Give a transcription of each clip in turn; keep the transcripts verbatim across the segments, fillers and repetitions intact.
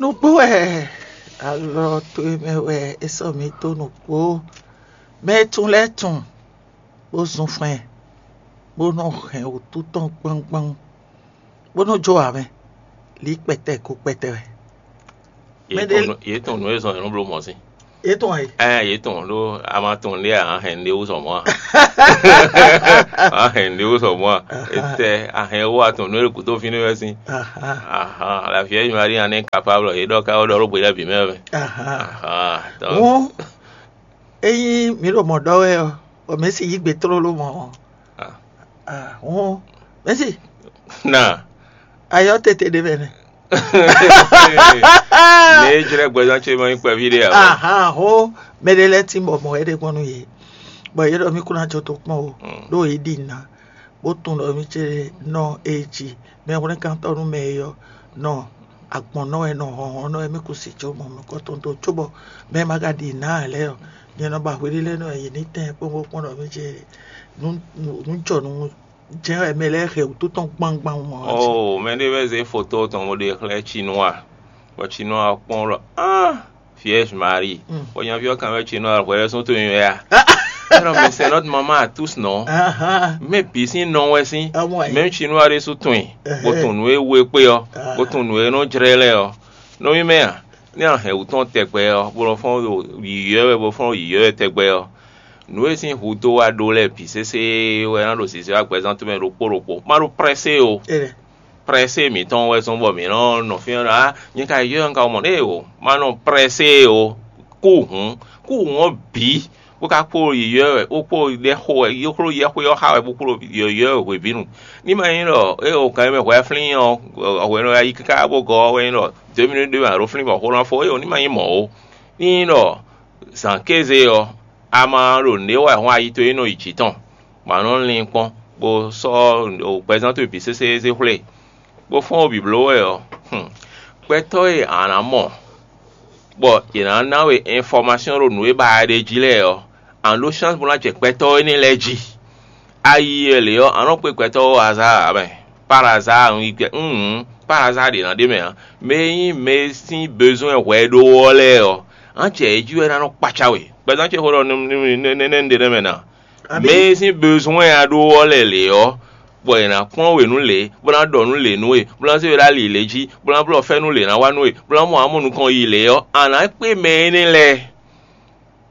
Nǔgbó wɛ alɔ towe mɛ wɛ è sɔ́ mì dó nǔgbó. Mɛ e tunwun lɛ́ɛ tunwun, bó zun fɛn, bó nɔ hɛn wǔtu tɔn gbɔngbɔn, bó nɔ jó ǎ mɛ. Lǐ kpɛtɛ ko kpɛtɛ wɛ. Mɛ ɖé- Yě tunwun nǔ e zɔn yě nɔ bló mɔ̌ sín. Yě tunwun ɛ. Ɛ yě tunwun ɖó a ma tunwun ɖé a hɛn ɖé wú sɔ mɔ̌ a? A hɛn ɖé wú sɔ mɔ̌ a? Etɛ a hɛn wú a tunwun nǔ e ɖo gǔdo fínɛ́ wɛ sín. Ahan, la vieille Marie en est capable, yě ɖɔ ká wɛ ɖɔ ɖó gběɖá bǐ mɛ wɛ. Ahan, donc Hɔn, ényí mǐ ɖo mɔ̌ ɖɔ wɛ ɔ́, bɔ mɛ̌ si yí gbe tlóló mɔ̌ ɔ́, ah, ah, hɔn, mɛ̌ si na ayɔ tete ɖé mɛ nɛ. Ne jlɛ gbɛzán ce ma nyí kpɛví ɖé a? Ahan, ho, mɛ ɖé lɛ́ɛ tín bɔ mɔ̌ wɛ ɖe gbɔn nú yě, bɔ yě ɖɔ mì kún ná jɔ tó kpɔ́n o, ɖó yě ɖi nǔ ná, bó tunwun ɖɔ mì ce nɔ ée jí. Mɛ hwlɛ́nkántɔ́ nú mɛ e ɔ́ nɔ agbɔ̌n nɔ wɛ nɔ hlɔ̌nhlɔ́n nɔ wɛ mì kún si jó mɔ mɛ kɔ́ tɔn dó, cóbɔ mɛ e ma ka ɖi nǔ ná ǎ lɛ́ɛ ɔ́, nyɛ nɔ ba hweɖé lɛ́ɛ nɔ wɛ yě ní tɛ́n kpɔ́n bó kpɔ́n ɖɔ mì ce nǔ nǔ jɔ nǔ jɛ́n wɛ mɛ lɛ́ɛ hɛ wǔtu tɔn gbangban mɔ ɔ́ jí. Oh, mɛ ɖé wɛ zé foto tɔn bó ɖe xlɛ́ Chinois, bɔ Chinois ɔ́ kpɔ́n ɖɔ ah, Vierge Marie, bɔ nyaví ɔ́ kan wɛ Chinois hwɛ ɖésú to nyi wɛ a? Ɛnɔ mi c'est notre maman à tous, non? Ahan, Mɛ bǐ sín nɔ wɛ sín, Amoin. Même Chinois ɖésú tunwun i, bó tunwun nǔ e wú e kpé ɔ́, bó tunwun nǔ e nɔ jlɛ́ lɛ́ɛ ɔ́. Nɔ mì mɛ a, ní a hɛn wǔ tɔn tɛgbɛ ɔ́, bó nɔ fɔ́n ɖo yǐyɔ́ wɛ, bó fɔ́n ɖo yǐyɔ́ wɛ tɛgbɛ ɔ́, nǔ e sín hudó wa ɖó lɛ́ɛ bǐ sésé wɛ ná ɖo zǐzé wá gbɛzán towe mɛ ɖokpó ɖokpó. Má ɖó prɛ́sé o. Ele. Prɛ́sé mǐtɔn wɛ zɔ́n bɔ mǐ nɔ nɔ fí ɔ́ ɖɔ á, nyɛ ka yɔ́ ɔ́, un ka mɔ ɖěe o. Má nɔ prɛ́sé o. Kú hǔn, kú hǔn ɔ́ bǐ, bó ka kpó yǐyɔ́ wɛ, bó kpó ɖɛxó wɛ, yóxló yɛxwé ɔ́ xa wɛ, bó kpó yɔ̌yɔ́ wɛ hwebǐnu. Ní ma nyí ɖɔ é o kan e mɛ hwɛ flín ɔ́, hwɛ nɔ yi káká bó gɔ́ ɔ́ wɛ nyí ɖɔ dó mínú ɖé mɛ a ɖó flín bɔ xó ná fó é o, ní ma nyí mɔ̌ ó. Ní nyí ɖɔ zǎn kéze ɔ́, a ma ɖo nǔɖé wa hɔn ayi towe nɔ yi jǐ tɔn, bɔ a nɔ lin kpɔ́n, bó sɔ́ gbɛzán towe bǐ sésé zé xwlé, bó fɔ́n wo bǐbló wɛ ɔ́, gbɛtɔ́ e a nǎ mɔ, bɔ yě ná ná we infɔmasɔ́n ɖo nǔ e ba a ɖe jí lɛ́ɛ ɔ́, a nǎ ɖó chance bó ná jɛ gbɛtɔ́ énɛ́ lɛ́ɛ jí. Ayi e lě ɔ́, a nɔ kpé gbɛtɔ́ ó azár ǎ mɛ. Par azár un yi gbɛ un hǔn, par azár ɖě ná ɖ'é mɛ ǎ. Mɛ e nyí mɛ e sín bezwɛn hwɛ ɖó ɔ́ lɛ́ɛ ɔ́, a jɛ yě jí wɛ ná nɔ kpaca we. Gbɛzán ce xó ɖɔ nɛnɛ un ɖe nɛ́ mɛ ná. Mɛ e sín bezwɛn a ɖó ɔ́ lɛ́ɛ lě ɔ́, bɔ è nǎ kplɔ́n we nú lě, bó ná ɖɔ nú lě nú we, bó ná zé we ɖó ali lě jí, bó ná blɔ́ fɛ́nú lě ná wa nú we, bó ná mɔ amɔ nukɔn yi lě ɔ́, a nǎ kpé mɛ énɛ́ lɛ́ɛ.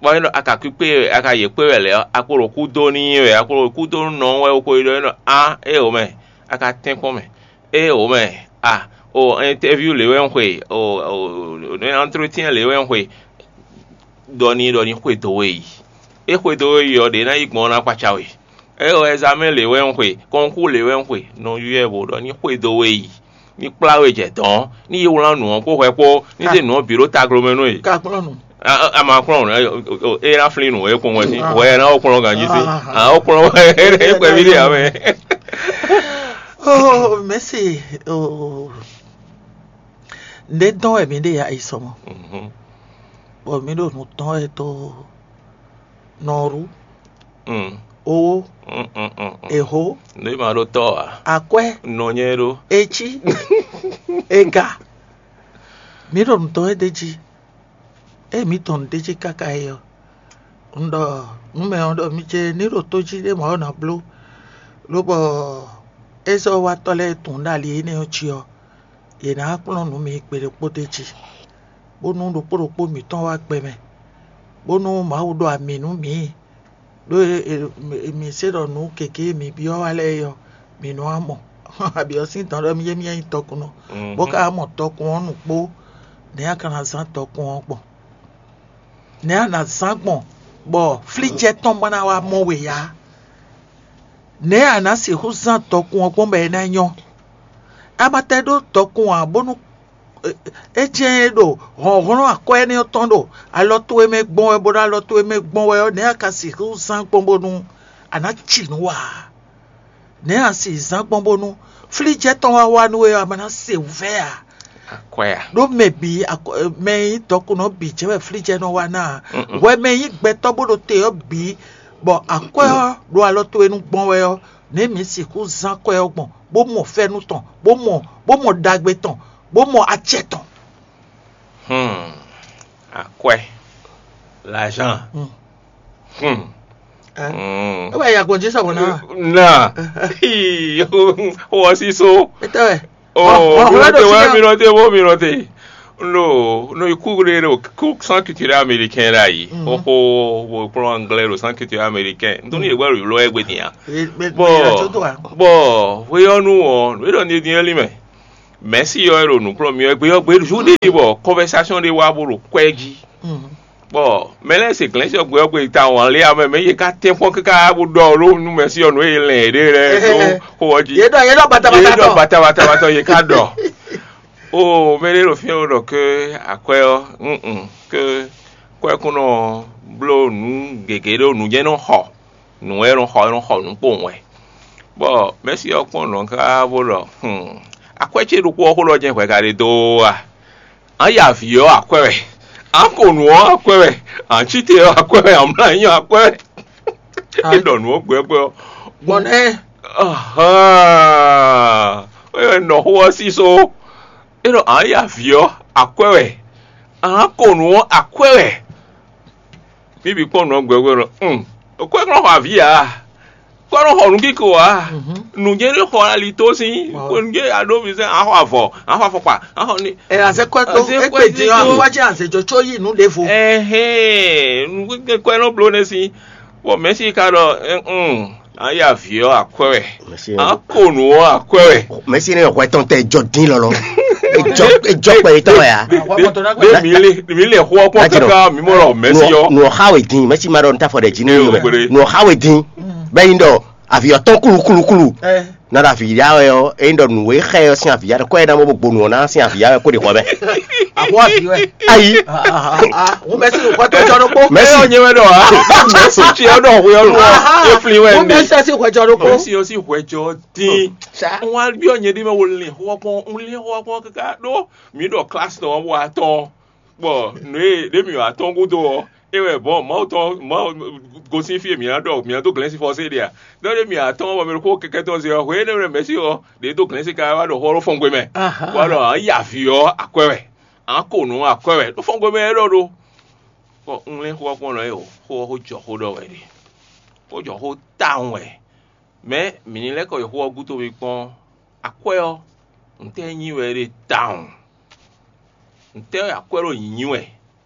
Bɔ é ɖɔ a ka kpíkpé a ka yě kpé wɛ lɛ̌ ɔ́, a kpo ɖo kú dó n'i wɛ, a kpo ɖo kú dó nú nɔ ɔ́ wɛ, o ko ɖɔ é nɔ á é o mɛ, a ka tɛ́nkpɔ́n mɛ, é o mɛ, a o ɛntɛ́vyú lě wɛ un xwe, o ɛntrétiɛn lě wɛ un xwe, ɖɔ n'i ɖɔ ní xwedó we yi. É xwedó we yi ɔ́, ɖě ná yi gbɔn ɔ́ ná kpaca we. É o ɛzamɛ́n lě wɛ un xwe, kɔnkú lě wɛ un xwe, nɔ ywɛ bó ɖɔ ní xwedó we yi. Ní kplá we jɛ dɔ̌n, ní yi wlán nǔ ɔ́ kpó hwɛ kpó, ní zé nǔ ɔ́ bǐ ɖó taglo mɛ nú we. Ka kplɔ́n nǔ. A ma kplɔ́n nǔ, é ná flín nǔ é kpɔn wɛ sín, hwɛ ná ó kplɔ́n ganjí sín. A ó kplɔ́n wɛ é kpɛví ɖe ǎ mɛ. Oh, mɛ̌si, oh, nɖé dɔn wɛ mǐ ɖe ya yi sɔmɔ, bɔ mǐ ɖo nǔ tɔn wɛ tó nɔrú, owó, èhó, Nú ma ɖó tɔ́ ǎ, akwɛ́, nɔ nyɛ ɖó. etí, ega. Mǐ ɖo nǔ tɔn wɛ ɖ'é jí. Ée mǐ tɔn nǔ ɖ'é jí káká é ɔ́, un ɖɔ nǔ mɛ ɔ́ ɖɔ mi ce ní ɖo tó jí ɖé mɔ̌ ɔ́ ná bló, lobɔ ézɔ́watɔ́ lɛ́ɛ tunwun ɖó ali énɛ́ ɔ́ jí ɔ́, yě ná kplɔ́n nǔ mi gbe ɖokpó d'é jí, bónú ɖokpó ɖokpó mǐtɔn wá gbɛ mɛ, bónú Mawu ɖo amǐ nú mǐ, ɖó e- e- mi se ɖɔ nǔ gěgé e mi byɔ́ wá lɛ́ɛ é ɔ́, mi nɔ wá mɔ. Abyɔ̌ sín dɔn ɖɔ mi yé mi nyí tɔkunnɔ, bó ka wá mɔ tɔkun ɔ́ nukpó, nɛ̌ a ka ná zán tɔkun ɔ́ gbɔn? Nɛ̌ a nǎ zán gbɔn bɔ flíjɛ tɔn ma ná wá mɔ we ǎ? Nɛ̌ a nǎ sixú zán tɔkun ɔ́ gbɔn bɔ é ná nyɔ́? A ma tɛ ɖó tɔkun ǎ, bónú é jɛ́n é ɖo hlɔ̌nhlɔ́n akwɛ́ énɛ́ ɔ́ tɔn ɖo alɔ towe mɛ gbɔn wɛ, bó ɖo alɔ towe mɛ gbɔn wɛ ɔ́, nɛ̌ a ka sixú zán gbɔn bónú a nǎ ci nǔ wa ǎ? Nɛ̌ a si zán gbɔn bónú flíjɛ tɔn wá wá nú we ɔ́, a ma ná se wǔvɛ́ ǎ? Akwɛ a? Ɖó mɛ bǐ akɔ- mɛ e nyí dɔkunnɔ bǐ jɛ́n wɛ flíjɛ nɔ wá ná ǎ. Hwɛ mɛ e nyí gbɛtɔ́ bó ɖo te ɔ́ bǐ, bɔ akwɛ́ ɔ́ ɖo alɔ towe nu gbɔn wɛ ɔ́, nɛ̌ mǐ sixú zán akwɛ́ ɔ́ gbɔn, bó mɔ fɛ́nú tɔn, bó mɔ bó mɔ ɖagbe tɔn, bó mɔ acɛ tɔn? Hmm. Akwɛ́. L'argent. Hmm. Hmm. Hmm. É wɛ ya gbɔn jí sɔmɔ náà. Na. Wɔ sísó. Ètò ẹ̀. Oh, mi nɔte wɛ, mi nɔte wɛ, mi nɔte. No, no, ikú ɖe ɖo kú centre culturel américain ɖ'ayǐ. Xóxó, wo kplɔ́n anglais ɖo centre culturel américain. Ntɔn ní yě gbɛ́ ɖo lɔ ɛgbɛ din a. Bɔ bɔ hweyɔnu ɔ, nǔ e ɖɔ ní din ɛlí mɛ. Mɛ̌si ɔ́ e ɖo nǔ kplɔ́n mì ɔ́, gbe ɔ́ gbe ɖu ɖe bɔ conversation ɖé wá bó ɖo kwɛ́ jí. Bɔ mɛ lɛ́ɛ se glɛ̌nsi ɔ́ gbe ɔ́ gbe ta wǎn lé amɛ mɛ yě ká tɛ́n kpɔ́n káká bó ɖɔ ló nú Mɛ̌si ɔ́ nǔ e è lɛn yě ɖe lɛ́ɛ dó xó ɔ́ jí. Yě ɖɔ yě ɖɔ batabata Yě ɖɔ tɔn. Batabata tɔn yě ká ɖɔ. O mɛ ɖé ɖo fí ɔ́ ɖɔ ké akwɛ́ ɔ́, mm ke kwɛ́kúnɔ ɔ́ bló nǔ gěgé ɖó nǔ jɛ́n nɔ xɔ nǔ wɛ nɔ xɔ nɔ xɔ nǔ kpowun wɛ. Bɔ Mɛ̌si ɔ́ kpɔ́n nǔ ɔ́ káká bó ɖɔ: "Hmm, akwɛ́ ce ɖokpó ɔ́ xó ɖɔ jɛ́n hwɛ ka ɖe dó ó a? Ǎ ya vǐ ɔ́ akwɛ́ wɛ, ǎ ko nǔ ɔ́ akwɛ́ wɛ, ǎ cí te ɔ́ akwɛ́ wɛ, ǎ mlá nyí akwɛ́ wɛ." É ɖɔ nǔ ɔ́ gbɛgbɛ ɔ́. Gbɔn nɛ́. Ahán, é wɛ nɔ xó ɔ́ sísó. É ɖɔ ǎ ya vǐ ɔ́ akwɛ́ wɛ, ǎ ko nǔ ɔ́ akwɛ́ wɛ. Mí bǐ kpɔ́n nǔ ɔ́ gbɛgbɛ ɖɔ: "Hmm, akwɛ́ nɔ xɔ avǐ ǎ, akwɛ́ nɔ xɔ nǔkíko ǎ, nǔjɛ ní xɔ ali tó sín, nǔjɛ aɖó mi sɛn, ǎ xɔ avɔ, ǎ xɔ afɔkpa, ǎ xɔ ní." Ɛ azɛ kɔ tó Azɛ kɔ egbe tó. Din wá jẹ azɛ jɔ tsɔ yi nu ɖevo. Ɛhɛn, nukwe nɔ blo ne si. Bɔ Mɛsi ka ɖɔ, "Ɛn, aya vǐ ɔ́ akwɛ́ wɛ, a ko nǔ ɔ́ akwɛ́ wɛ." Mɛsi ne hwɛ tɔn tɛ jɔ dín lɔlɔ. Ejɔ ejɔ kpɛ yetɔ wɛ ya. Ɖe mi le mi le xɔ kpɔn kaka mi mɔ lɔ Mɛsi ɔ́. Nɔ xa we dín, Mɛsi ma ɖɔ nta fɔ ɖe jí ne. Nɔ xa we dín. Bɛ yin ɖɔ avi ɔtɔn kulu kulu kulu. Na ɖo avi ya wɛ ɔ́, eyin ɖɔ nǔ e xɛ ɔ́ sín avi ya ɖɔ kɔ ɛ ná mɔ bó gbonu ɔ́ ná sín avi ya wɛ kó ɖe xɔ mɛ. Àbó àbí wɛ. Ayi. Wọ́n bẹ sí ìwé tó jọ ló kó. Mɛsi ɔ́ nyɛ wɛ ɖɔ a. Mɛsi tsi ɔ́ ɖɔ hwe ɔ́ lɔ. Efli wɛ Wọ́n bẹ ní. Sí ìwé jọ ló kó. Mɛsi ɔ́ sì hwɛ jɔ dín. Wọ́n á bí ɔ̀nyẹ́ dí mɛ wo lè xɔ kpɔn, ń lé xɔ kpɔn kíkà ɖó. Mi ɖɔ kílásì tɔn wá tɔn. Bɔ nǔ e ɖě mǐ wá tɔ́n gúdo ɔ́, é wɛ bɔn Mawu tɔn Mawu gosín fí e mǐ ná ɖɔ mǐ ná dó glɛ̌nsifɔ́sé ɖe a? Ɖɔ ɖé mǐ wá tɔ́n bɔ mɛ ɖokpó kɛkɛ́ tɔn zɛ ɔ́, hwenu énɛ́ mɛ mɛ̌si ɔ́, ɖě dó glɛ̌nsi káká wá ɖɔ xó ɔ́ ɖó fɔ́n gbe mɛ. Wá ɖɔ ǎ yi avǐ ɔ́ akwɛ́ wɛ, ǎ ko nǔ akwɛ́ wɛ, ɖó fɔ́n gbe mɛ é ɖɔ ɖó. Bɔ un lɛ́n xó ɔ́ kpɔ́n nɔ é o, xó ɔ́ xó jɔ xó ɖɔ wɛ ɖe. Xó jɔ xó tawun wɛ. Mɛ̌ mǐ ní lɛ́ kɔ yi xó ɔ́ gúdo mi kpɔ́n? Akwɛ́ ɔ́, ntɛ́ nyí wɛ é ɖe tawun? Ntɛ́ wɛ akwɛ́ ɖo nyǐnyí wɛ?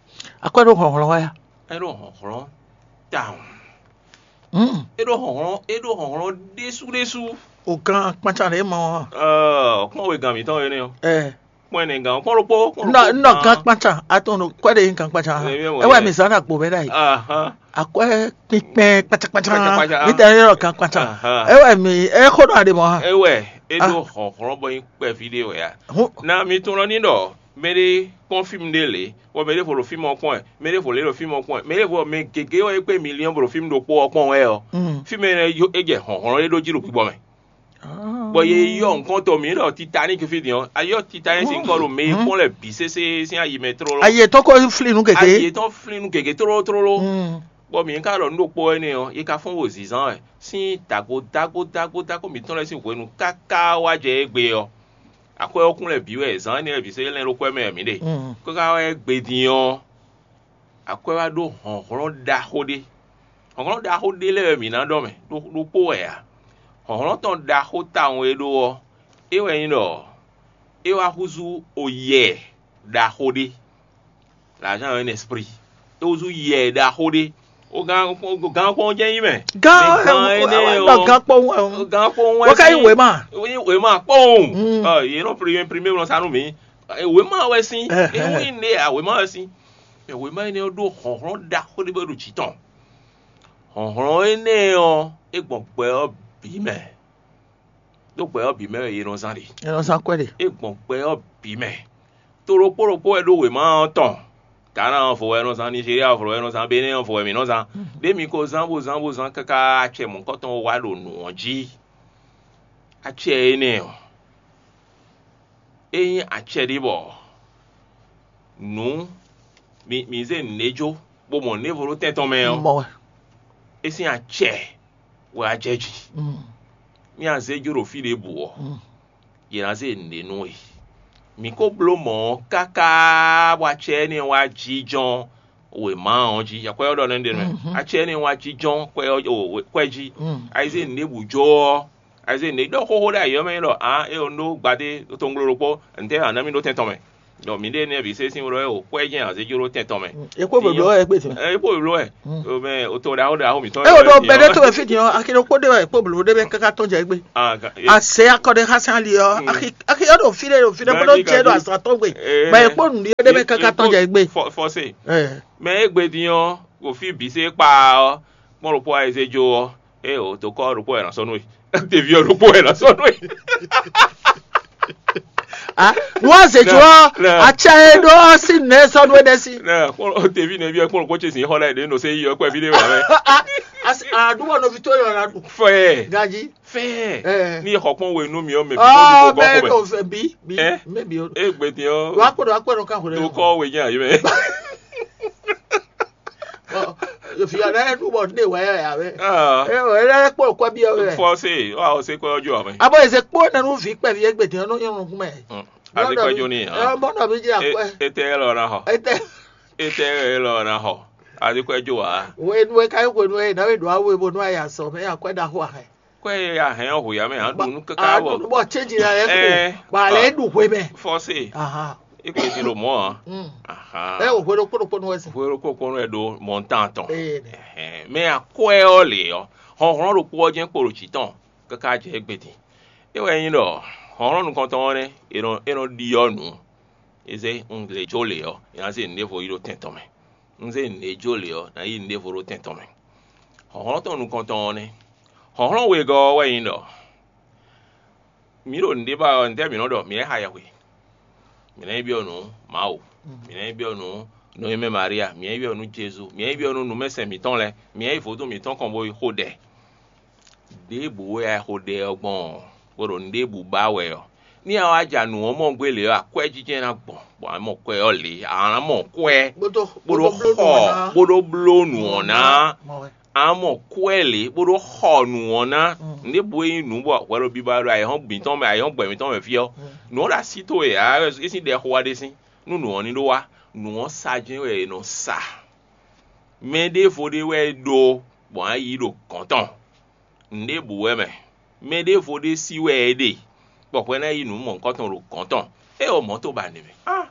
Akwɛ́ ɖo hlɔ̌nhlɔ́n wɛ. É ɖo hlɔ̌nhlɔ́n tawun. Mm. É ɖo hlɔ̌nhlɔ́n é ɖo hlɔ̌nhlɔ́n ɖésú ɖésú. O gan kpancan ɖě mɔ ɔ́. Ɛɛ, kpɔ́n wegán mǐtɔn énɛ́ ɔ́. Ɛ. Kpɔ́n ɛnɛ gán kpɔ́n ɖokpó. Nɔ nɔ gan kpancan atɔn ɖo kwɛ ɖe nyí gan kpancan. Ɛ, ɛ, ɛ wɛ mi zan na gbo mɛ ɖa yi. Ahan. Akwɛ kpikpɛn kpancan kpancan. Kpancan, kpancan. Mi tɛ yɔrɔ gan kpancan. Ahan. Ɛ wɛ mi ɛ xo nɔ aɖe mɔ ha. É wɛ é ɖó hlɔ̌nhlɔ́n bɔ nyí kpɛví ɖé wɛ a. Hun. Na mi tunɔ ní ɖɔ mɛ ɖé kpɔ́n fíìmù ɖé lě, bɔ mɛ ɖé vo ɖo fíìmù ɔ́ kpɔ́n ɛ, mɛ ɖé vo lě ɖo fíìmù ɔ́ kpɔ́n ɛ, mɛ ɖé vo mɛ gěgé wɛ é kpé miliyɔn bo ɖo fíìmù ɖokpó ɔ́ kpɔ́n wɛ ɔ́. Mm. Fíìmù énɛ́ é jɛ hlɔ̌nhlɔ́n ɖé ɖó jí ɖo gbígbɔ mɛ. Bɔ ye yɔ nukɔn tɔn mǐ ɖɔ Titanic fí din ɔ́, a yɔ Titanic sin kɔ ɖo mɛ e kpɔ́n lɛ bǐ sésé sín ayi mɛ tlóló. Ayi yětɔn ko flí nú gěgé. Ayi yětɔn flí nú gěgé tlóló tlóló. Mm. Bɔ mǐ ka ɖɔ nǔ ɖokpó wɛ nɛ́ ɔ́, yi ka fɔ́n wo zǐnzán wɛ sín dǎgbo dágbo dágbo dágbo mǐtɔn lɛ́ɛ sín hwenu káká wá jɛ égbé ɔ́, akwɛ́ ɔ́ kún lɛ bǐ wɛ zǎn énɛ́ lɛ́ɛ bǐ sésé lɛ́n ɖó kwɛ́ mɛ wɛ mǐ ɖe. Mm. Káká wá égbé din ɔ́, akwɛ́ wá ɖó hlɔ̌nhlɔ́n ɖaxó ɖé. Hlɔ̌nhlɔ́n ɖaxó ɖé lɛ́ɛ wɛ mǐ ná ɖɔ mɛ ɖó ɖokpó wɛ ǎ. Hlɔ̌nhlɔ́n tɔn ɖaxó tawun e ɖó ɔ́, é wɛ nyí ɖɔ é wá húzú oyɛ ɖaxó ɖé. L'argent est un esprit. É húzú yɛ ɖaxó ɖé. O gán gán kpɔn jẹ́ yín mɛ. Gán Mɛ gán énɛ́ ɔ. Gán kpɔn wɛ. Gán kpɔn wɛ Wọ́n ká yí sí. Wèé mà. Wèé mà kpɔn. Mm. Ɔ yě nɔ primé primé nɔ sánú mi. Wèé mà wɛ sí. Ɛ, ɛ. Ewu ní ne à wèé mà wɛ sí. Mɛ wěma énɛ́ ɔ́ ɖó hlɔ̌nhlɔ́n ɖaxó ɖé bɔ é ɖo jǐ tɔn. Hlɔ̌nhlɔ́n énɛ́ ɔ́, é gbɔn gbɛ ɔ́ bǐ mɛ. Ɖó gbɛ ɔ́ bǐ mɛ wɛ è nɔ zán ɖe. È nɔ zán kwɛ́ ɖe. É gbɔn gbɛ ɔ́ bǐ mɛ. To ɖokpó ɖokpó wɛ ɖó wěma ɔ́ tɔn. Ghana ɔ́ vo wɛ è nɔ zán, Nizeriya ɔ́ vo wɛ è nɔ zán, Benɛ́ ɔ́ vo wɛ mǐ nɔ zán. Ɖé mi ko zán bó zán bó zán káká acɛ mɔ̌hunkɔtɔn wá ɖo nǔ ɔ́ jí. Acɛ énɛ́ ɔ́, é nyí acɛ ɖé bɔ nǔ mi mi zé nǔɖé jó bó mɔ nǔɖévo ɖó tɛn tɔn mɛ ɔ́, Mɔ wɛ. É sín acɛ wɛ a jɛ jí. Mm, Mí a zé jó ɖo fí ɖěbǔ ɔ́, mm. Yě ná zé nǔɖé nú we. Mǐ ko bló mɔ̌ ɔ́ káká bɔ acɛ énɛ́ wá jínjɔ́n wěma ɔ́ jí. Akwɛ́ ɔ́ ɖɔ nɛ́ ɖe mɛ. Acɛ énɛ́ wá jínjɔ́n kwɛ ɔ́ kwɛ jí. Ayizé nǔɖé bǔ jó ɔ́, ayizé nǔɖé ɖɔ xóxó ɖo ayǐ ɔ́ mɛ ɖɔ ǎ é ɔ́ ɖó gbadé tɔngblo ɖokpó ntɛ́ ǎ ná mì ɖó tɛn tɔn mɛ. Ɖɔ mǐɖée nɛ́ vǐ sésín wlɔ́ ɛ o kwɛ́ jɛ́n azéjó ɖó tɛn tɔn mɛ. È kpó blǒblǒ wɛ é gbe tɔn. Ɛ é kpó blǒ wɛ. Mɛ o to ɖaxó ɖaxó mǐtɔn. É wò ɖo bɛɖé towe fí din ɔ́, axi ɖokpó ɖé wɛ kpó blǒ ɖé mɛ káká tɔn jɛ égbé. Azě akɔ ɖé xá sín ali ɔ́, axi axi ɔ́ ɖo fí ɖé ɖo fí ɖé bó ɖó jɛ ɖo azɔn tɔn gbe. Bɔ è kpó nǔɖé ɖé mɛ káká tɔn jɛ égbé. Fɔse. Mɛ é gbe din ɔ́, wò fí bǐ sé kpa ɔ́, kpɔ́n ɖokpó ayizéjó ɔ́, é o dokɔ ɖokpó wɛ ná sɔ́ nú we. Ɖevi ɔ́ ɖokpó wɛ ná sɔ́ nú we. Nú azě jó ɔ́, acɛ e ɖó ɔ́ sín nɛ̌ sɔ́ nú éɖée sí. Nɛ kpɔ́n ɖevi nɛví ɔ́ kpɔ́n ɖokpó ce sín xɔ lɛ́ɛ ɖě nɔ sé yi ɔ́ kpɛví ɖé wɛ mɛ. Aɖúbɔ nɔví tó yɔ la ɖu Fɛ ganjí. Fɛ. Ní xɔ kpɔ́n we nú mi ɔ́ mɛ bǐ kpɔ́n ɔ bíbó mɛ gɔ́ xɔ mɛ. Tó fɛ bí bí Ɛ? Mébí o. Égbé din ɔ́, Wá kpɔ́n wá kpɔ́n kan xwlé. Tó kɔ we nyɛ ayé mɛ. Fia lɛ ɖu bɔ ne wɛ ya wɛ. Ah. Ɛ ɛ lɛ kpɔ́n kɔ bí ɔ́ wɛ. Fɔse wa o se kɔ ɔjɔ amɛ. Abo eze kpó nanu vi kpɛ vi egbe din ɔnɔ yɔn nukun mɛ. Adi kɔ jo ni Ɛ hàn. Mɔ nɔ mi dzi akwɛ. Ete lɔ na xɔ. Ete Ete lɔ na xɔ. Adi kɔ jo wa. Wo enu e ka yi hwenu e na we ɖo awo e bo nɔ ayi azɔ mɛ akwɛ ɖaxo ahɛ. Kɔ e ya hɛn ɔ hu ya mɛ hàn ɖu nu kaka wɔ. Aɖu bɔ tse dzi la yɛ Ɛ. Ko ba lɛ ɖu hwe mɛ. Fɔse. Ahan. Ikpe ti ɖo mɔ a. Mm. Ahan. Ɛ o hwe ɖokpó ɖokpó nu wɛ si. Hwe ɖokpó ɖokpó nu wɛ ɖo mɔntan tɔn. Ee nɛ. Ɛhɛn. Mɛ akwɛ ɔ le ɔ. Hɔnhlɔn ɖokpó ɔ jɛn kpo ɖo jǐ tɔn kaka jɛ egbe din. É wɛ nyí ɖɔ hɔnhlɔn nukɔntɔn ɔ́ nɛ́, è nɔ è nɔ ɖiɔ nǔ. É zé un lě jó lě ɔ́, è nǎ zé nǔɖévo yi ɖo tɛn tɔn mɛ. Un zé nǔɖé jó lě ɔ́, nǎ yi nǔɖévo ɖo tɛn tɔn mɛ. Hlɔ̌nhlɔ́n tɔn nukɔntɔn ɔ́ nɛ́. Hlɔ̌nhlɔ́n wegɔ́ ɔ́ wɛ nyí ɖɔ mǐ ɖo nǔɖé ba ɔ́, ntɛ́ mǐ nɔ ɖɔ? Mǐ wɛ xa yɛhwe. Mǐ ná yi byɔ́ nǔ Mawu. Mǐ ná yi byɔ́ nǔ nɔnywɛ́ Maria. Mǐ ná yi byɔ́ nǔ Jezu. Mǐ ná yi byɔ́ nǔ nǔmɛsɛn mǐtɔn lɛ́ɛ. Mǐ ná yi vodún mǐtɔn kɔn bo yi xo ɖɛ. Ɖěbǔ wɛ a xo ɖɛ ɔ́ gbɔn ɔ́, bó ɖo nǔɖébǔ ba wɛ ɔ́, ní a wá ja nǔ ɔ́ mɔ gbé lě ɔ́, akwɛ́jijɛ ná gbɔn, bɔ a mɔ kwɛ ɔ́ lě, a nǎ mɔ kwɛ bó dó bó dó xɔ bó dó bló nǔ ɔ́ ná. A mɔ kwɛ lě bó ɖó xɔ nǔ ɔ́ ná. Nǔɖébǔ e nyí nǔ bɔ hwɛ ɖo biba ɖo ayǐhɔ́n mǐtɔn mɛ, ayǐhɔ́n gbɛ mǐtɔn mɛ fí ɔ́, nǔ ɔ́ ɖo así towe ǎ, é sín ɖɛ xo wá ɖe sín, nú nǔ ɔ́ ní ɖó wá. Nǔ ɔ́ sa jɛ́n wɛ è nɔ sa. Mɛ ɖěvo ɖé wɛ é ɖó, bɔ a yí ɖo gɔ̌n tɔn. Nǔɖébǔ wɛ mɛ. Mɛ ɖěvo ɖé sí wɛ é ɖe, bɔ hwɛ ná yi nǔ mɔ̌hunkɔtɔn ɖo gɔ̌n tɔn. É ɔ mɔ̌ to ba nɛ mɛ. Ah!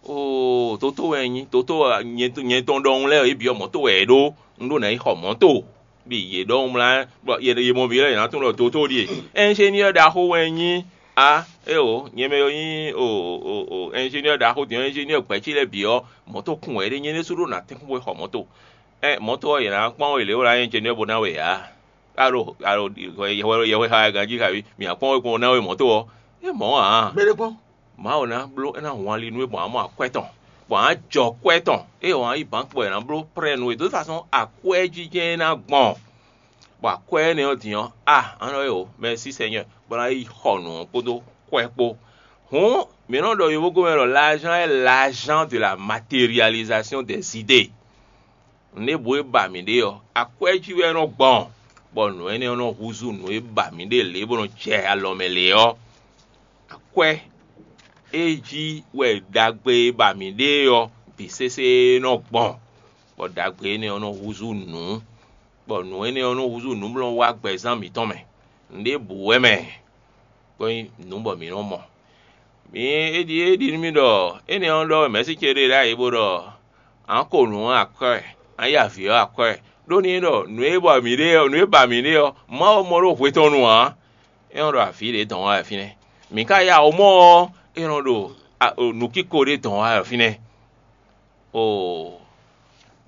Oo, toto wɛ nyí, toto nyɛ tɔn ɖɔhun lɛ́ɛ ɔ́, yě bǐ ɔ́ mɔ̌ to wɛ yě ɖó. Un ɖó ná yi xɔ mɔ̌ to. Bɔ yě ɖɔhun mlá, bɔ yě mɔ vǐ lɛ́ɛ yě ná tunwun ɖɔ toto ɖíe. Ɛnzéniɔ́ ɖaxó wɛ nyí. A éeǒ, nyɛ mɛ ɔ́ nyí o o o ɛnzéniɔ́ ɖaxó din ɔ́, ɛnzéniɔ́ gbɛ̌ ce lɛ́ɛ bǐ ɔ́, mɔ̌ to kun wɛ é ɖe nyɛ ɖésú ɖó ná tɛ́nkpɔ́n xɔ mɔ̌ to. Ɛ mɔ̌ to ɔ́, yě ná kpɔ́n we lě wɛ ná nyí ɛnzéniɔ́ bó ná we ǎ. Alo alo yɛhwɛ yɛhwɛ xa wɛ ganjí kaví mǐ ná kpɔ́n we kpɔ́n ná we mɔ̌ to ɔ́. É mɔ̌ ǎ. Gbéɖé kpɔ́n. Mawu ná bló é ná hun ali nú we gbɔn amɔ akwɛ́ tɔn, gbɔn á jɔ kwɛ́ tɔn. Ée wǎn yi bǎnkpɔ è nǎ bló prɛ́ nú we. De toute façon, akwɛ́ jijɛ é ná gbɔn. Bɔ akwɛ́ énɛ́ ɔ́ din ɔ́, a a nɔ e o, mɛsí Sɛnyɛ, bó ná yi xɔ nǔ ɔ́ kpódó kwɛ́ kpó. Hǔn mǐ nɔ ɖɔ yovógɔ́mɛ ɖɔ l'argent est l'argent de la matérialisation des idées. Nǔɖébǔ e ba mǐ ɖe ɔ́, akwɛ́ jí wɛ é nɔ gbɔn, bɔ nǔ énɛ́ ɔ́ nɔ húzú nǔ e ba mǐ ɖe lě bó nɔ jɛ alɔ mɛ lě ɔ́. Akwɛ́ e jí wɛ ɖagbe e ba mǐ ɖe ɔ́ bǐ sésé nɔ gbɔn, bɔ ɖagbe énɛ́ ɔ́ nɔ húzú nǔ, bɔ nǔ énɛ́ ɔ́ nɔ húzú nǔmlɔ́ wá gbɛzán mǐtɔn mɛ. Nǔɖébǔ wɛ mɛ, bó nyí nǔ bɔ mǐ nɔ mɔ. Mǐ é ɖi é ɖi nú mì ɖɔ énɛ́ ɔ́ ɖɔ mɛ̌si ce ɖe ɖ'ayǐ bó ɖɔ: "A nǎ ko nǔ ɔ́ akwɛ́, a nǎ ya avǐ ɔ́ akwɛ́." Ɖó n'i ɖɔ nǔ e bɔ mǐ ɖe ɔ́, nǔ e ba mǐ ɖe ɔ́, Mawu mɔ ɖó hwe tɔn nu ǎ. É nɔ ɖo avǐ ɖě dɔn wá wɛ fínɛ́. Mǐ ka ya wǒ mɔ ɔ́, é nɔ ɖo nǔkíko ɖé dɔn wá wɛ fínɛ́. O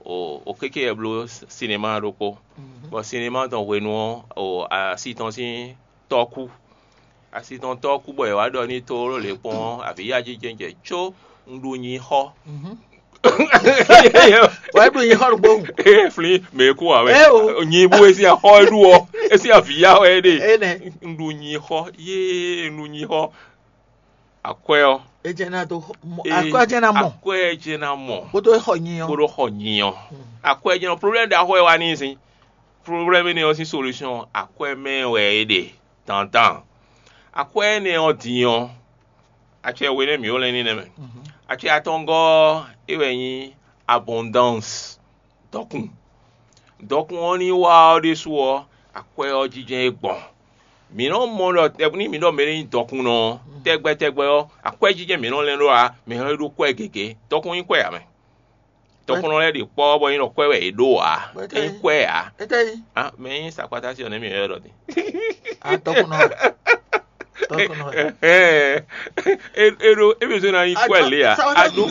o o kéké wɛ bló sinemá ɖokpó, bɔ sinemá tɔn hwenu ɔ́, o asi tɔn sín tɔ́ kú. Asi tɔn tɔ́ kú bɔ è wǎ ɖɔ n'i tlóló lě kpɔ́n ɔ́, avǐ yá jínjɛ́n jɛ có un ɖu nyi xɔ. Wɛ ɖu nyi xɔ ɖokpó. Ee flin mɛ e kú wǎ wɛ. Nyi bú e sín axɔ e ɖu ɔ́, e sín avǐ yá wɛ é ɖe. Un ɖu nyi xɔ yéé un ɖu nyi xɔ. Akwɛ́ ɔ́, Ejɛ na do xɔ- mɔ- Ee, akwɛ́ jɛ na mɔ akwɛ́ jɛ na mɔ kótó xɔ nyi ɔ́. Kóɖó xɔ nyi ɔ́. Akwɛ́ jɛ nɔ problème ɖaxó e wá ní sín. Problème énɛ́ ɔ́ sín solution akwɛ́ mɛ wɛ é ɖe dandan. Akwɛ́ énɛ́ ɔ́ din ɔ́, Acɛ we nɛ́ mǐ ó lɛ́n ní nɛ́ mɛ. Acɛ atɔngɔ́ ɔ́, é wɛ nyí abondance, dɔkun. Dɔkun ɔ́ ní wá ɔ́ ɖésú ɔ́, akwɛ́ ɔ́ jínjɛ́n é gbɔn. Mǐ nɔ́ mɔ ɖɔ tɛ́ ní mǐ ɖɔ mɛ ɖé nyí dɔkunnɔ ɔ́, tɛgbɛ tɛgbɛ ɔ́, akwɛ́ jínjɛ́n mǐ nɔ́ lɛ́n ɖó ǎ, mǐ nɔ́ ɖó kwɛ́ gěgé. Dɔkun nyí kwɛ́ ǎ mɛ. Tɔkùnɔ lɛ́ɛ ɖe kpɔ́ bɔ nyí ɖɔ kwɛ́ wɛ yě ɖó ǎ. Bɔ é ká nyí Nyí kwɛ́ ǎ. É ká nyí. Ah, mɛ nyí sakpata sí ɔ́ nɛ́ mì wɛ ɖɔ din. Ah, tɔkùnɔ. Tɔkùnɔ. É é ɖó é bɛ zɔn na nyí kwɛ́ lě ǎ. A ɖó.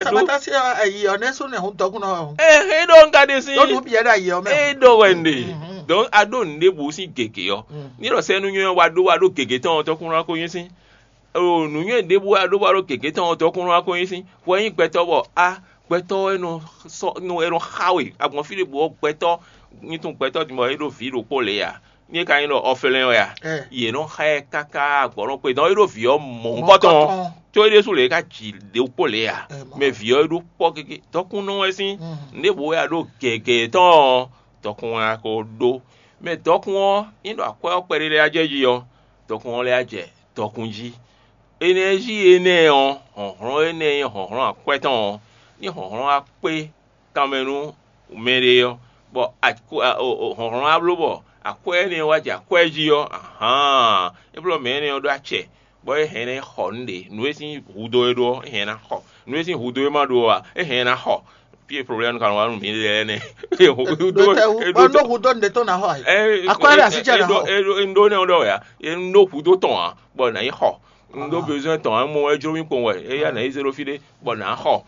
Sakpata sí ayi ɔ́ nɛ́ sɔ́ nɛ́ hún tɔkùnɔ ɔ́. Ɛ é ɖó ń ka ɖe sí. Ɖó nǔ bìyɛ ɖo ayi ɔ́ mɛ. É ɖó wɛ nɖe. Donc a ɖó nǔɖébǔ sín gěgé ɔ́. Ní ɖɔ sɛ́nú nywɛ́ wa ɖó wa ɖó gěgé tɔn ɔ́ tɔkùnɔ ko nyí sín. O nǔnywɛ́ ɖěbǔ wɛ a ɖó bɔ a ɖo gěgé tɔn ɔ́ dɔkun wá kɔn nyi sín, hwɛ nyí gbɛtɔ́ bɔ á, gbɛtɔ́ e nɔ sɔ́ nɔ e nɔ xa we agbɔ̌n fí ɖěbǔ ɔ́, gbɛtɔ́ nyitún gbɛtɔ́ din bɔ é ɖo vǐ ɖokpó lě ǎ. Ní é ka nyí ɖɔ ɔfɛlɛ́n wɛ a? Yě nɔ xa ɛ káká agbɔ̌ nɔ kpe dɔn é ɖo vǐ ɔ́ mɔ̌hunkɔ tɔn ɔ́, có é ɖésú lě é ka ji ɖokpó lě ǎ. Mɛ vǐ ɔ́ é ɖó kpɔ́ gégé dɔkunnɔ wɛ sín nǔɖébǔ wɛ a ɖo gěgé tɔn ɔ́, dɔkun wɛ a ko ɖó. Mɛ dɔkun ɔ́, nyí ɖɔ akwɛ́ ɔ́ kpɛɖé lɛ́ɛ á jɛ jí ɔ́, dɔkun ɔ́ lɛ́ á jɛ dɔkun jí. Enɛ́ jí énɛ́ ɔ́, hlɔ̌nhlɔ́n énɛ́ e nyí hlɔ̌nhlɔ́n akwɛ́ tɔn ɔ́, ní hlɔ̌nhlɔ́n wá kpé kanmɛ nú mɛɖé ɔ́, bɔ hlɔ̌nhlɔ́n wá bló bɔ akwɛ́ énɛ́ ɔ́ wá jɛ akwɛ́ jí ɔ́, ahan, é blɔ́ mɛ énɛ́ ɔ́ ɖó acɛ, bɔ é hɛn ná yi xɔ nǔɖé; nǔ e sín hudó é ɖó ɔ́, é hɛn ná xɔ; nǔ e sín hudó é ma ɖó ɔ́ ǎ, é hɛn ná xɔ. Fí e problème ka nɔ wá nú mǐ lɛ́ɛ nɛ́. Hudó Bɔn nú hudó nǔɖé tɔn ná xɔ ɛ. Akɔ́ ɖo así jɛ ná xɔ. Ɖó nɛ́ ɔ́ ɖɔ wɛ ǎ. Un ɖó hudó tɔn ǎ, bɔ nǎ yi xɔ. Un ɖó besoin tɔn ǎ, mɔ wɛ jló mì kpɔ́n wɛ. Éyɛ́ nǎ yi zé ɖó fí ɖé, bɔ nǎ xɔ.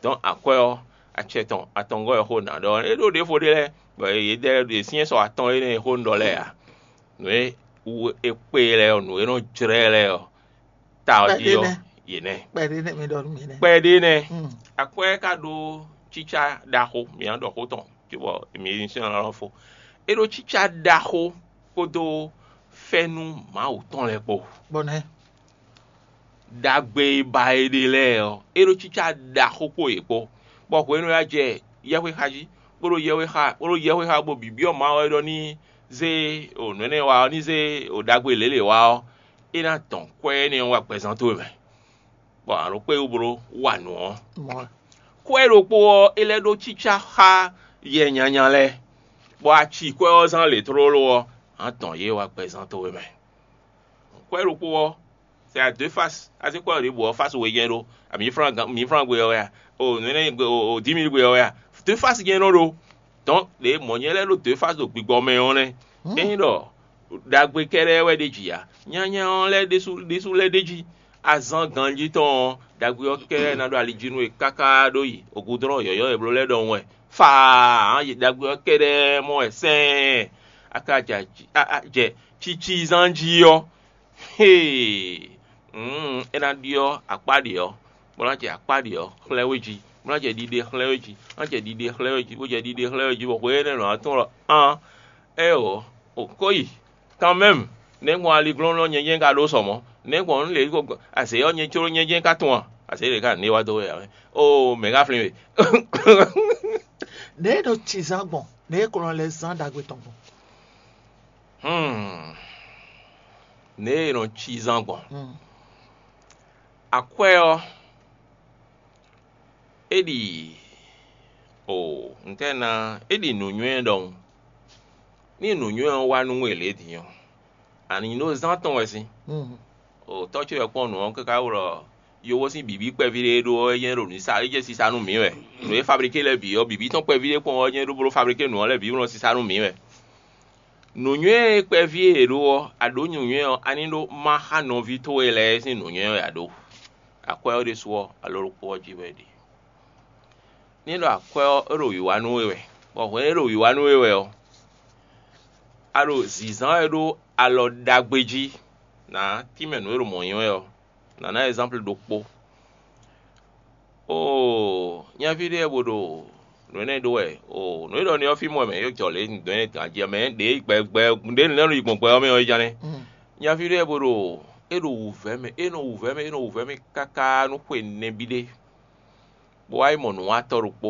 Dɔn akwɛ́ ɔ́, acɛ tɔn atɔngɔ́ wɛ xó nǎ ɖɔ. É ɖó ɖěvo ɖé lɛ́ɛ, bɔ yě ɖɛ ɖě syɛ́n sɔ atɔn énɛ́ e xó un ɖɔ lɛ́ɛ ǎ. Nǔ e wú é kpé lɛ́ɛ ɔ́, nǔ e nɔ jlɛ́ lɛ́ɛ ɔ́, ta ɔ́ jí ɔ́, yě nɛ́. Kpɛɖé nɛ́ mi ɖɔ nú mi nɛ́. Kpɛɖé nɛ́. Akwɛ́ ka ɖó cícá ɖaxó, mǐ ná ɖɔ xó tɔn, cóbɔ mǐ ní sɔ́ ná lɔ́ fó. É ɖó cícá ɖaxó kpódó fɛ́nú Mawu tɔn lɛ́ɛ kpó. Bɔ nɛ́. Ɖagbe e ba è ɖe lɛ́ɛ ɔ́, é ɖó cícá ɖaxó kpó yě kpó, bɔ hwenu e a jɛ yɛhwe xa jí, bó ɖo yɛhwe xa, bó ɖo yɛhwe xa bó bǐbyɔ́ Mawu wɛ ɖɔ ní zé o nǔ énɛ́ wa ɔ́, ní zé o ɖagbe lělě wa ɔ́, é ná dɔn kwɛ́ énɛ́ ɔ́ wá gbɛzán towe mɛ, bɔ a nǎ ɖo kpé wú bó ɖó wa nǔ ɔ́. Kwɛ́ ɖokpó ɔ́, é lɛ́ ɖó cícá xá yɛ nyanya lɛ́ɛ, bɔ a ci kwɛ́ ɔ́ zán lě tlóló ɔ́, a nǎ dɔn yě wá gbɛzán towe mɛ. Kwɛ́ ɖokpó ɔ́, c'est à deux faces. A zé kwɛ́ ɖěbǔ ɔ́, fásí we jɛ́n ɖó. Mǐ flán gbe ɔ́ wɛ a? O nǔ énɛ́ gbe o dix mille gbe ɔ́ wɛ a? Deux faces jɛ́n nɔ ɖó. Dɔn ɖě mɔ̌ nyɛ lɛ́ɛ ɖó deux faces ɖo gbigbɔ mɛ ɔ́ nɛ́. Ényí ɖɔ ɖagbe kɛ́ɖɛ́ wɛ ɖ'é jí ǎ, nyanya ɔ́ lɛ́ɛ ɖésú ɖésú lɛ́ɛ ɖ'é jí. Azán ganjí tɔn ɔ́, ɖagbe ɔ́ kɛ́ɖɛ́ ná ɖo ali jí nú we káká ɖó yi ògúdlɔ́n yɔ̌yɔ́ e bló lɛ́ɛ ɖɔhun wɛ. Faa! Ɖagbe ɔ́ kɛ́ɖɛ́ mɔ wɛ sɛ́ɛn. A ka jɛ cicizán jí ɔ́, Hee! Hǔn é ná ɖyɔ́ akpá ɖě ɔ́, bó ná jɛ akpá ɖě ɔ́ xlɛ́ we jí, bó ná jɛ ɖiɖe xlɛ́ we jí, bó ná jɛ ɖiɖe xlɛ́ we jí, bó jɛ ɖiɖe xlɛ́ we jí, bɔ hwe énɛ́ lɔ̌ ná tɔn ɖɔ: Aan, éeǒ, o ko yi, kanmɛ́mu, nɛ̌ gbɔn aliglɔ́nlɔ́n nyɛjɛ́n ka ɖó sɔ mɔ̌? Nɛ̌ gbɔn nǔ lě ko azě ɔ́ nyɛ jló nyɛjɛ́n ka tunwun a? Azě ɖě ka nǔ e wá dó wɛ ǎ mɛ. Oo, mɛ̌ ka flín we? Nɛ̌ e nɔ ci zán gbɔn? Nɛ̌ e ko nɔ lɛ́ zán ɖagbe tɔn gbɔn? Hmm. Nɛ̌ e nɔ ci zán gbɔn? Akwɛ́ ɔ́, é ɖi o ntɛ́ ná é ɖi nǔnywɛ́ ɖɔhun. Ní nǔnywɛ́ ɔ́ wá nú we lě din ɔ́, a nǐ ɖó zán tɔn wɛ sín. O tɔ́ ce wɛ kpɔ́n nǔ ɔ́ káká wlɔ yovó sín bǐbí kpɛví ɖé e ɖó ɔ́, é nyɛ́ ɖo nǔ sa é jɛ sisa nú mǐ wɛ. Nǔ e fablíké lɛ́ɛ bǐ ɔ́, bǐbí tɔn kpɛví ɖé kpɔ́n ɔ́, é nyɛ́ ɖó bló fablíké nǔ ɔ́ lɛ́ɛ bǐ wlɔ sisa nú mǐ wɛ. Nǔnywɛ́ e kpɛví e è ɖó ɔ́, a ɖǒ nǔnywɛ́ ɔ́, a ní ɖó má xá nɔví towe lɛ́ɛ sín nǔnywɛ́ wɛ a ɖǒ. Akwɛ́ ɔ́ ɖésú ɔ́, alɔ ɖokpó ɔ́ jí wɛ è ɖe. Ní ɖɔ akwɛ́ ɔ́, é ɖo wǐwá nú we wɛ, bɔ hwɛ̌n é ɖo wǐwá nú we wɛ ɔ́, a ɖo zǐnzán wɛ ɖó alɔ ɖagbe jí, nǎ tínmɛ nǔ e ɖo mɔ̌ nyí wɛ ɔ́. Nǎ ná ɛzánplu ɖokpó. Oo, nyaví ɖé bo ɖo nǔ énɛ́ ɖó wɛ. Oo, nǔ e ɖɔ n'i ɔ́, fí mɔ wɛ mɛ é jɔ lě nǔ dɔn énɛ́ tɔn ají ɔ́ mɛ ɖě gbɛgbɛ ɖě nǔ lɛ́ɛ nɔ yi gbɔn gbɛ ɔ́ mɛ ɔ́ é ján nɛ́. Nyaví ɖé bo ɖo é ɖo wǔvɛ́ mɛ, é nɔ wǔvɛ́ mɛ, é nɔ wǔvɛ́ mɛ káká nú xwe nɛbí ɖé, bó wá yi mɔ nǔwatɔ́ ɖokpó,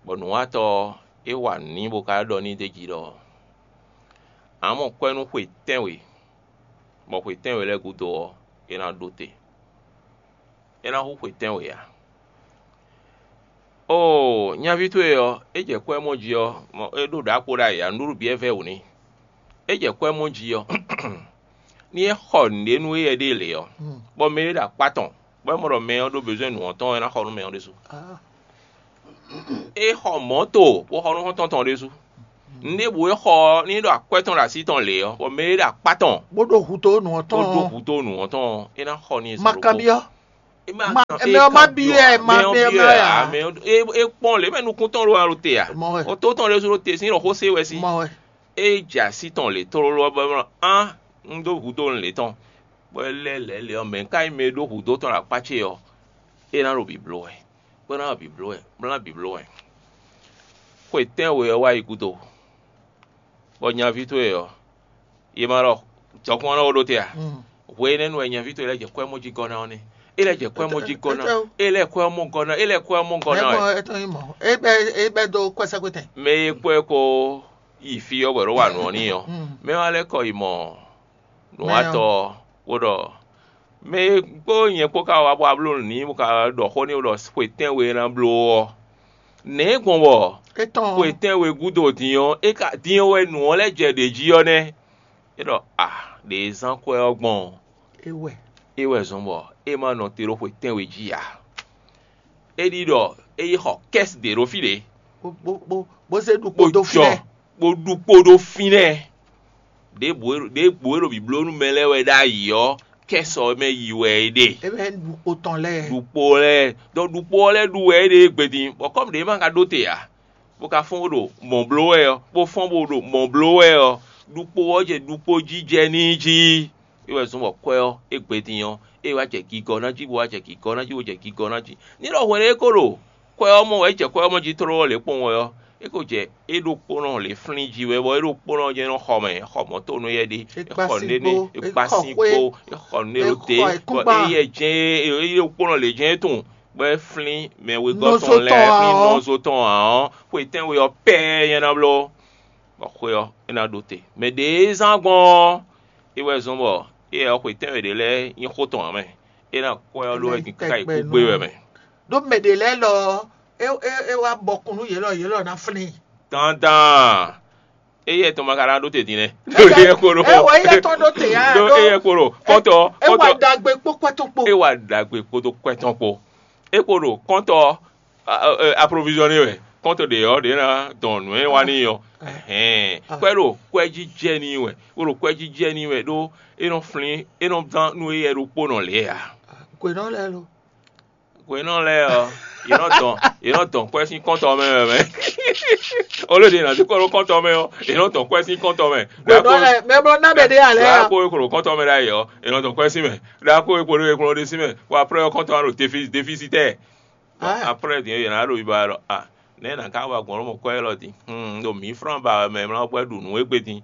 bɔ nǔwatɔ́ ɔ́, é wa nǔ n'i bó ka ɖɔ n'i d'é jí ɖɔ: Ǎ mɔ kwɛ́ nú xwe tɛ́nwe. bɔ xwe tɛ́nwe lɛ́ɛ gúdo ɔ́, é ná ɖó te. É ná hú xwe tɛ́nwe ǎ. Oo, nyaví towe ɔ́, é jɛ kwɛ́ mɔ jí ɔ́, é ɖó ɖǎkpo ɖ'ayǐ ǎ, nǔɖuɖu bǐ wɛ vɛ́ wǔ n'i. É jɛ kwɛ́ mɔ jí ɔ́, ní é xɔ nǔɖé nú éyɛ́ ɖée lě ɔ́, bɔ mɛ e ɖo akpá tɔn, bɔ é mɔ ɖɔ mɛ ɔ́ ɖó bezwɛ́n nǔ ɔ́ tɔn, é ná xɔ nú mɛ ɔ́ ɖésú. É xɔ mɔ̌to bó xɔ nú xɔ́ntɔn tɔn ɖésú. Nǔɖěbǔ e xɔ ɔ́, ní é ɖo akwɛ́ tɔn ɖo así tɔn lě ɔ́, bɔ mɛ e ɖo akpá tɔn bó ɖo hǔ dó nǔ ɔ́ bó tɔn dó ɔ́, hǔ dó nǔ ɔ́ tɔn ɔ́, é ná xɔ n'i. Ma kanbyɔ́. Ma- mɛ ɔ́ ma byɔ́ ɛ, ma- mɛ ɔ́ mɛ ɔ́ byɔ́ ma ɛ ɛ ǎ, ǎ. Mɛ ɔ́ é é kpɔ́n lě mɛ nukún tɔn ɖo alo te ǎ. Mɔ wɛ. Ɔtó tɔn lɛ́ sú ɖo te sín ɖɔ xó sé wɛ sí. Mɔ wɛ. É jɛ así tɔn lě tlóló ɔ́ bɔ é mlɔ́ án un dó hǔ dó un lě tɔn, bɔ é lɛ́ lɛ̌ lě ɔ́, mɛ̌ ka nyí mɛ e ɖó hǔ dó tɔn ɖo akpá ce ɔ́, é ná ɖo bǐ bló wɛ, bó ná ɖo bǐ bló wɛ, bó ná bǐ bló wɛ. Xwe tɛ́nwe ɔ́ wá yi gúdo, bɔ nyaví towe ɔ́, yě ma ɖɔ jɔkún ɔ́ nɔ ɖó te a? Hwe énɛ́ nu wɛ nyaví towe lɛ́ jɛ kwɛ́ mɔ jí gɔ́ ná ɔ́ nɛ́. É lɛ́ jɛ kwɛ́ mɔ jí gɔ́ ná. É lɛ́ kwɛ́ ɔ́ mɔ gɔ́ ná. É lɛ́ kwɛ́ ɔ́ mɔ gɔ́ ná wɛ. Mɛ gbɔn é tɔn nyí mɔ̌. É bɛ́ é bɛ́ dó kwɛ́sɛ́kwɛ́tɛn. Mɛ e kpɔ́ ɛ kó yi fí ɔ́ bɔ è nɔ wa nǔ ɔ́ n'i ɔ́, mɛ ɔ́ wá lɛ́ kɔ yi mɔ nǔwatɔ́ ɔ́, bó ɖɔ mɛ e kpó nyɛ kpó ka wá bó wá bló nǔ n'i bó ka ɖɔ xó n'i bó ɖɔ xwe tɛ́nwe e ná bló ɔ́, nɛ̌ gbɔn bɔ xwe tɛ́nwe gúdo din ɔ́, é ka din ɔ́ wɛ nǔ ɔ́ lɛ́ jɛ ɖě jí ɔ́ nɛ́? É ɖɔ a, ɖě e zán kwɛ́ ɔ́ gbɔn ɔ́, é wɛ é wɛ zɔn bɔ é ma nɔ te ɖó xwe tɛ́nwe jí ǎ. É ɖi ɖɔ é yi xɔ kɛ́si ɖě ɖó fí ɖě, bó bó bó bó zé ɖu kpo dó fínɛ́. Bó ɖu kpo ɖó fínɛ́. Ɖěbǔ e ɖěbǔ e ɖo bǐbló nú mɛ lɛ́ɛ wɛ ɖ'ayǐ ɔ́, kɛ́si ɔ́ mɛ yi wɛ é ɖe. É bɛ́ ɖu kpo tɔn lɛ́ɛ. Ɖu kpo lɛ́ɛ, dɔn ɖu kpo ɔ́ lɛ́ɛ ɖu wɛ é ɖe égbé din, bɔ kɔ́mu ɖě ma ka ɖó te ǎ, bó ka fɔ́n bó ɖo mɔ̌ bló wɛ ɔ́, bó fɔ́n bó ɖo mɔ̌ bló wɛ ɔ́, ɖu kpo ɔ́ jɛ ɖu kpo jijɛ n'i jí. É wɛ zɔ́n bɔ kwɛ́ ɔ́, é gbe din ɔ́, é wá jɛ gigɔ ná jí, bó wá jɛ gigɔ ná jí, bó jɛ gigɔ ná jí. Ní ɖɔ hwɛɖé é ko ɖo kwɛ́ ɔ́ mɔ wɛ, é jɛ kwɛ́ ɔ́ mɔ jí tlóló lě kpɔ́n wɛ ɔ́, é ko jɛ é ɖokpónɔ lě flín jí wɛ, bɔ é ɖokpónɔ jɛ́n nɔ xɔ mɛ, é xɔ mɔ̌ to nú yɛ ɖé, é xɔ nǔɖé nɛ́, é kpá sín kpó, é xɔ nǔɖé ɖo te, bɔ éyɛ jɛ́n é é ɖokpónɔ lě jɛ́n é tunwun, bɔ é flín mɛ wegɔ́ tɔn lɛ́ɛ, flín nɔzo tɔn ǎ ɔ́, xwe tɛ́nwe ɔ́ pɛ́ɛ nyɛ ná bló, bɔ xwe ɔ́, é ná ɖo te. Mɛ ɖě e zán gbɔn ɔ́, é wɛ zɔ́n bɔ éyɛ́ ɔ́, xwe tɛ́nwe ɖě lɛ́ɛ nyí xó tɔn ǎ mɛ. É ná kwɛ́ ɔ́ ɖó wɛ kíká yi kú gbé wɛ mɛ. Ɖó mɛ ɖě lɛ́ɛ lɔ ɔ́, é é é wá bɔkun nú yě lɔ, yě lɔ ná flín. Dandan. Éyɛ́ tɔn ma ka ná ɖó te din nɛ́. Ɖó éyɛ́ kpo ɖó. É wɔ éyɛ́ tɔn ɖó te ǎ, ɖó ɖó éyɛ́ kpo ɖó. Kɔ́tɔ é wá kɔ́tɔ. Ɖagbe kpó kwɛ́ tɔn kpó. É wá ɖagbe kpódó kwɛ́ tɔn kpó. É kpo ɖo kɔ́ntɔ aprovisiɔne wɛ, kɔ́ntɔ ɖě ɔ́ ɖě ná dɔn nǔ e wá n'i ɔ́. Hɛn kwɛ́ ɖo kwɛ́ jí jɛ n'i wɛ, bó ɖo kwɛ́ jí jɛ n'i wɛ ɖó é nɔ flín, é nɔ zán nú éyɛ́ ɖokpónɔ lě ǎ. Hwenɔ lɛ́ɛ lo. Hwenɔ lɛ́ɛ ɔ́, yě nɔ dɔn yě nɔ dɔn kwɛ́ sín kɔ́ntɔ mɛ wɛ mɛ. Olóde ɖě ná dúkɔ ɖó kɔ́ntɔ mɛ ɔ́, yě nɔ dɔn kwɛ́ sín kɔ́ntɔ mɛ. Hwenɔ lɛ́ɛ mɛ blɔ ná mɛ ɖé alɛ. Ɖa kó e klo kɔ́ntɔ mɛ ɖ'ayǐ ɔ́, yě nɔ dɔn kwɛ́ sín mɛ. Ɖa kó e klo ɖésí mɛ, bɔ aprɛ ɔ́ kɔ́ntɔ ɔ́ ɖo défisitɛ́. Bɔ aprɛ din ɔ́, yě ná ɖo yiba ɖɔ a, nɛ̌ nǎ ká wa gbɔn nú mɔ kwɛ́ élɔ́ din? Hlún ɖo mǐ flán ba wɛ mɛ mlá gbɛ́ ɖu nǔ égbé din,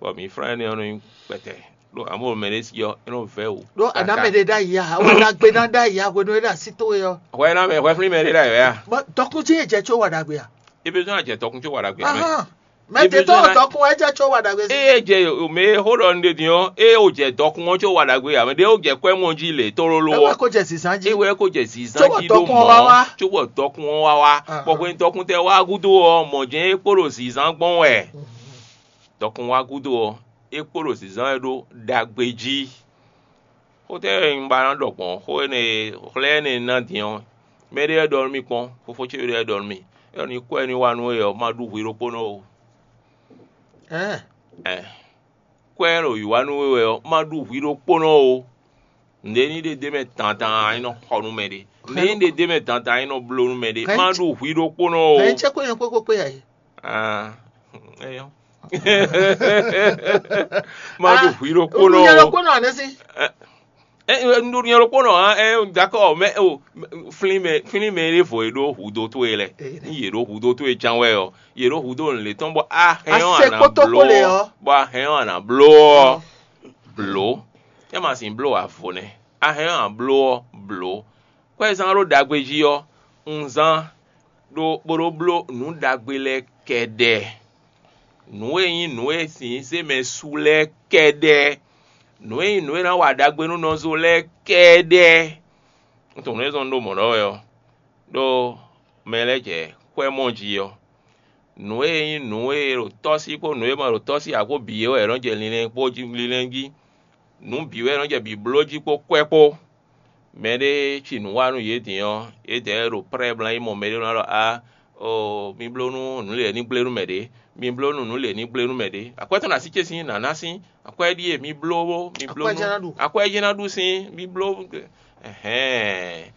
bɔ mǐ flán énɛ́ ɔ́ nɔ nyí kpɛtɛ. Ɖó amɔ̌ mɛ ɖé sí ɔ́, é nɔ vɛ́ wǔ. Ɖó àná mɛ ɖé ɖ'ayǐ a, wɛ ɖagbe ná ɖ'ayǐ a, hwenu e ɖo así towe ɔ́. Hwɛ ná mɛ hwɛ flín mɛ ɖé ɖ'ayǐ wɛ a? Bɔ dɔkun jí è jɛ có wa ɖagbe a? Ebe zɔn àjɛ dɔkun có wa ɖagbe a mɛ. Mɛ tɛ tɔn dɔkun wɛ jɛ có wa ɖagbe sí. Eye jɛ mɛ xó ɖɔ nu ɖe din ɔ́, eye wò jɛ dɔkun ɔ́ có wa ɖagbe a mɛ ɖé wò jɛ kwɛ́ mɔ jí lě tlóló ɔ́. Ewé kó jɛ zǐzán jí. Ewé kó jɛ zǐzán jí ɖó mɔ̌, cóbɔ dɔkun ɔ́ wá wá. Bɔ hwenu dɔkun tɛ wá gúdo ɔ́, mɔ̌ jɛ́n é kpo ɖo zǐzán gbɔn wɛ. Dɔkun wá gúdo ɔ́, é kpo ɖo zǐzán wɛ ɖó ɖagbe jí. Xó tɛ́ wɛ un ba ná ɖɔ gbɔn xó énɛ́ e xlɛ́ énɛ́ e ná din ɔ́? Mɛɖé wɛ ɖɔ nú mì kpɔ́n, fofó ce ɖé wɛ ɖɔ nú mì. É ɖɔ ní kwɛ́ ní wa nú we ɔ́, ma ɖu hwi ɖokpónɔ o. Ɛɛ, kwɛ́ ɖo yi wa nú we wɛ ɔ́, ma ɖu hwi ɖokpónɔ o. Nǔɖé ní ɖe d'é mɛ dandan ɔ́, é nɔ xɔ nú mɛɖé. Nǔɖé ní ɖe d'é mɛ dandan ɔ́, é nɔ bló nú mɛɖé. Ma ɖu hwi ɖokpónɔ o. Hɛn cɛ kó nyɛ kpókpó kpé yǎ yě. Ah, eyɔ́. Ma ɖu hwi ɖokpó nɔ o. Ɖokpó nɔ anɛ sí. Un ɖo nyɛ ɖokpó nɔ hã, ɛ, dakɔ mɛ o, flin mɛ flin mɛ ɖé vɔ e ɖo hudo towe lɛ. Ní yě ɖo hudo towe ján wɛ ɔ, yě ɖo hudo nǔ lě tɔn bɔ a hɛn ɔ́ a nǎ bló ɔ́, bɔ a hɛn ɔ́ a nǎ bló ɔ́, blǒ. É ma sin bló avo nɛ́. A hɛn ɔ́ a bló ɔ́, blǒ. Kwɛ́zán ɖó ɖagbe jí ɔ́, un zán ɖó bó ɖó bló nǔ ɖagbe lɛ́ɛ kɛɖɛɛ. Nǔ e nyí nǔ e sin zé mɛ su lɛ́ɛ kɛɖɛɛ. Nǔ e nyí nǔ e ná wa ɖagbe nú nɔzo lɛ́ɛ kɛ́ɖɛ́. Un tunwun nǔ e zɔ́n un ɖo mɔ̌ ɖɔ wɛ ɔ́, ɖó mɛ lɛ́ɛ jɛ xwɛ́ mɔ jí ɔ́, nǔ e nyí nǔ e ɖo tɔ́ sí kpó nǔ e ma ɖo tɔ́ sí ǎ kpó bǐ é wɛ è nɔ jɛ linlɛn kpó jí linlɛn jí. Nǔ bǐ wɛ è nɔ jɛ bǐ bló jí kpó kwɛ́ kpó. Mɛɖé ci nǔ wa nú yě din ɔ́, yědɛɛ ɖo prɛ́ bla yi mɔ mɛɖé nɔ ɖɔ a oo mi bló nú nǔ lě ní gblé nú mɛ ɖě, mi bló nú nǔ lě ní gblé nú mɛ ɖě. Akwɛ́ tɔn ɖo así ce sín nǎ ná sín, akwɛ́ ɖíe mi bló mi bló Akwɛ́ nú jɛ́n ná ɖu. Akwɛ́ jɛ́n ná ɖu sín mi bló. Ɛhɛn.